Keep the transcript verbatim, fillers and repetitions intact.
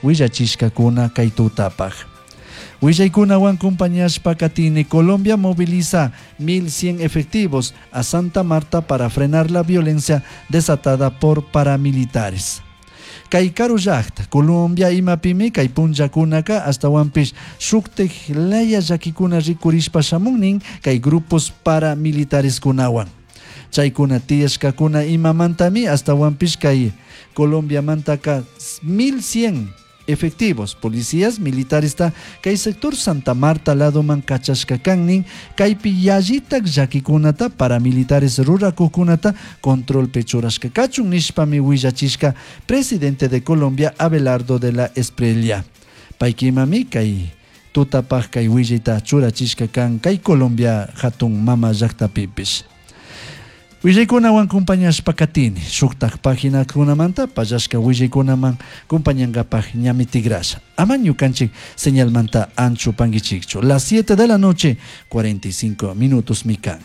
Willachishkakuna kay tutapaj. Willaykunawan compañashpa katini. Colombia moviliza mil cien efectivos a Santa Marta para frenar la violencia desatada por paramilitares. Kay karu llakta Colombia imapimi kay punllakunaka ashtawanpish shuktik laya llakikuna rikurishpa shamunnin kay grupos paramilitareskunawan. Chaykuna tiyashkakuna imamantami ashtawanpish kay Colombiamantaka mil cien efectivos policías militares kay sector Santa Marta ladoman kachashka kannin kaypi yallitak llakikunata paramilitares rurakuqkunata controlpi churashka kachun nishpami willachishka presidente de Colombia, Abelardo de la Espriella. Paykimami kay tutapaj kay willayta churachishka kan kay Colombia hatun mama llaktapipish. Willaykunawan compañashpa katini, shuktak paginakunamanta pallashka willaykunaman compañankapaj ñami tigrasha. Ama ñukanchik señalmanta anchu panguichikchu. Las siete de la noche, cuarenta y cinco minutos mi kan.